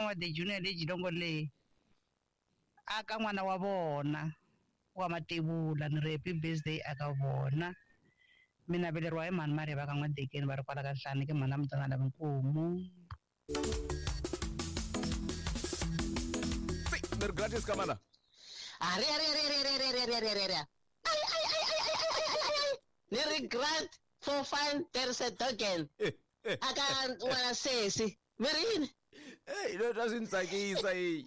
N'wa the Junior le Jilongo le aka n'wana wa vona wa matevula ni ri happy birthday aka vona. Mina veleriwa hi mhani Marivaka N'wa-Dekeni va ri kwala ka Nhlane ke mhani a mutana lava nkomu. Ni ri gratis ka mana. Ari ari ari ari ari ari ari ari ari. Ai ai ai ai ai ai ai ai ai. Ni ri grant for fun there's a token. Aka n'wana sesi. Mi ri yini? Hey, leswi a swi ni tsakisa yi.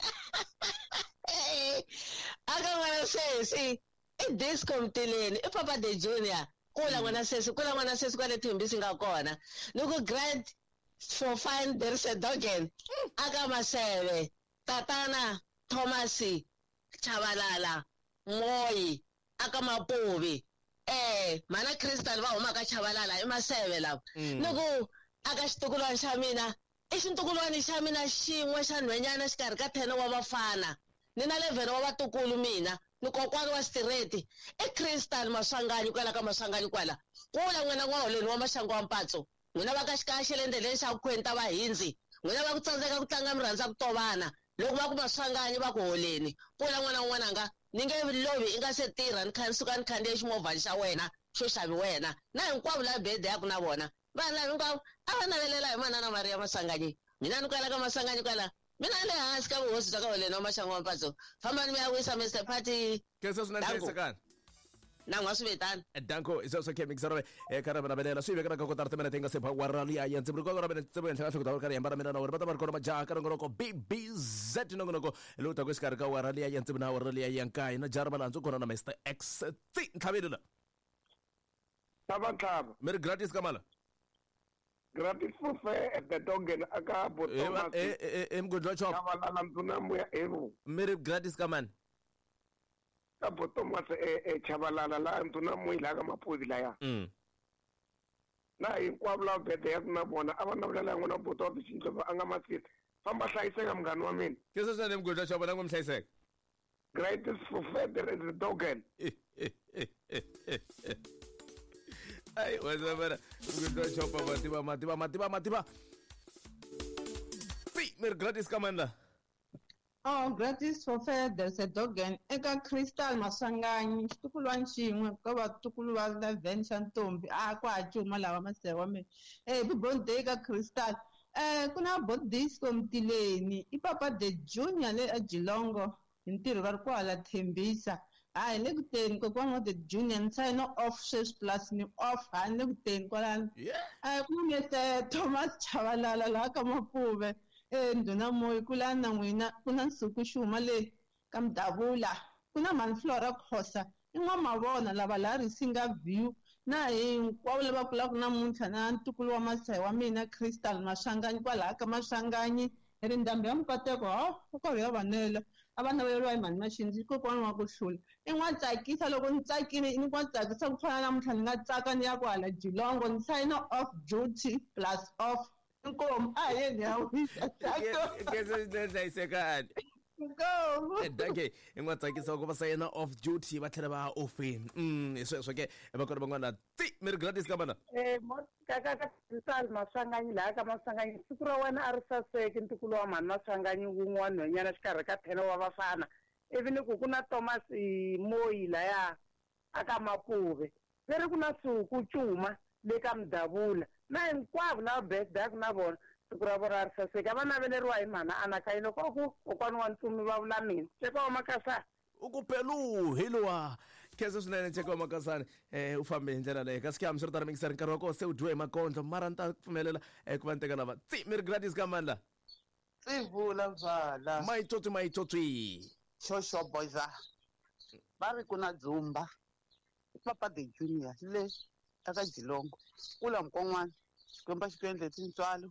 Aka n'wana sesi i disco mtileni i Papa the Junior. Kula n'wana sesi, kula n'wana sesi kwale Thembisi nga kona. Ni ku grant for fun there's a dogen. Aka Maseve, Tatana Thomas Chabalala Moyi aka Mapuvi. Mana Crystal va huma ka Chabalala i Maseve lava. Ni ku aka xitukulwana xa mina i xintukulwana xa mina xin'we xa nhwenyana xikarhi ka 10 wa vafana. Ni na 11 wa vatukulu mina. Ni kokwani wa Stireti i Crystal Maswanganyi kwala ka Maswanganyi kwala. Kula n'wina n'waholeni wa maxangu wa mpatso. N'wina va ka xikaya le ndleleni xa ku khwenta va hindzi. N'wina va ku tsandzeka ku tlanga mi rhandza ku tovana. Loko va ku Maswanganyi va ku holeni. Kula n'wana n'wananga ni nge lovi i nga se tirha ni kha suka ni khandziya ximovhani xa wena xo xavi wena. Na hinkwavo lava birthday ya ku na vona. Vanhu lava hinkwavo a va navelela hi manana Maria Maswanganyi. Mina ni kwala ka Maswanganyi kwala. Mina le hansi ka vuhosi bya ka holeni wa maxangu wa mpatso. Fambani mi ya wisa Mr Party. Khensa swinene hlayisekani. Na n'wa swi vitana. Danko i sweswo ke mixero e kha ra navelela swi vekela ka kotara timene ti nga se ba wa liya ya ndzi ko ra mina ndzi henhla ka nhloko ta karhi hambana mina na wena va ta va ri kona majaha ka nongonoko BBZ nongonoko lowu taka exikarhi ka wara liya ya ndzi na wara liya ya nkaye na jara malandzu kona na Mr X T ntlhaveni la. Tlhava tlhava. Mi ri gratis ka mala. Gratis for fair at the Dongen aka bo Thomas. Mgudlo chop. Chabalala nduna moya evo. Mi ri gratis ka mani? Ka bo Thomas Chabalala la nduna moya la ka Mapuvi la ya. Na hinkwavo lava birthday ya ku na vona a va navelela n'wana wa buti wa Bixindlo a nga masita. Famba hlayiseka munghana wa mina. Ke sweswi na Mgudlo chop na n'wi mi hlayiseka. Gratis for fair there is the Dongen. Ai wazabara Mgudlo chop mativa mativa mativa mativa. Si mer gratis ka manda. Oh, gratis for fair there's a dogen eka Crystal Maswanganyi xitukulwana xin'we ka vatukulu va 11 xa ntombi a kwa cuma lava masewa mina. Happy birthday ka Crystal. Ku na Bodisco Mtileni i Papa the Junior le a Jilongo hi ntirho va ri kwala Thembisa. Hayi le ku teni kokwani wa the Junior ni sign off sweswi plus ni off ha le ku teni kwalano. Ku na Mr Thomas Chabalala laha ka Mapuve. Nduna Moyi kula na n'wina ku na Nsuku Xuma le ka Mdavula ku na Mhani Flora Khosa i n'wamavona lava la Risinga View na hinkwavo lava kulaka namuntlha na ntukulu wa masayi wa mina Crystal Maswanganyi kwalaha ka Maswanganyi ri ndhambi ya Mukateko ho u karhi ya vanela a va naveleriwa hi mhani Maxindzi kokwani wa ku hlula i n'wa tsakisa loko ni tsakile ni n'wa tsakisa ku fana namuntlha ni nga tsaka ni ya ku hala Jilongo ni sign off duty plus off. Nkomu a yeni ya wisa. Khensa swinene hlayisekani. Nkomu. Danke i n'wa tsakisa ku va sayina off duty va tlhela va offini. Hi sweswo ke va kona van'wana ti mi ri gratis ka mana. Ka ka Crystal Maswanganyi laha ka Maswanganyi siku ra wena a ri saseki ntukulu wa mhani Maswanganyi wun'wana nhwenyana xikarhi ka 10 wa vafana. Ivi ni ku ku na Thomas Moyi laya aka Mapuve. Leri ku na Suku Cuma le ka Mdavula. Na hinkwavo lava birthday ya ku na vona siku ra vona ri saseka va naveleriwa hi mhana Anakayini loko ku kokwani wa ntsumi va vula mina Tsheko wa Makasana. U ku pelu hi luwa. Khensa swinene Tsheko wa Makasana. U fambe hi ndlela leyi kasi ke hambiswiritano mingiseri nkarhi wa kona se u dyiwe hi makondlo mara ni ta pfumelela ku va ni teka lava. Tsi mi ri gratis ka mani la? Tsi vula mzala. Maitsotsi maitsotsi. Shosho boyza. Va ri ku na dzumba. Papa the Junior le aka Jilongo. Kula mkon'wana Xikwembu xi ku endle tintswalo.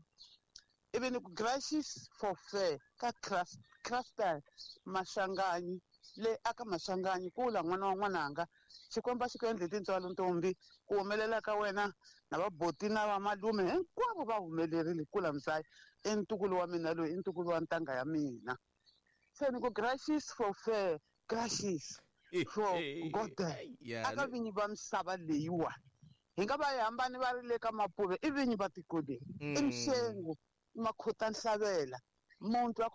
Ivi ni ku gracious for fair ka Crystal Maswanganyi le aka Maswanganyi kula n'wana wa n'wananga Xikwembu xi ku endle tintswalo ntombi ku humelela ka wena na vaboti na vamalume hinkwavo va humelerile kula mzaya i ntukulu wa mina loyi i ntukulu wa ntanga ya mina. Se ni ku gracious for fair gracious for God aka vinyi va misava leyiwa hi nga va hi hambani va ri le ka Mapuve i vinyi va tiko leri i Mxengu Makhota Nhlavela muntu wa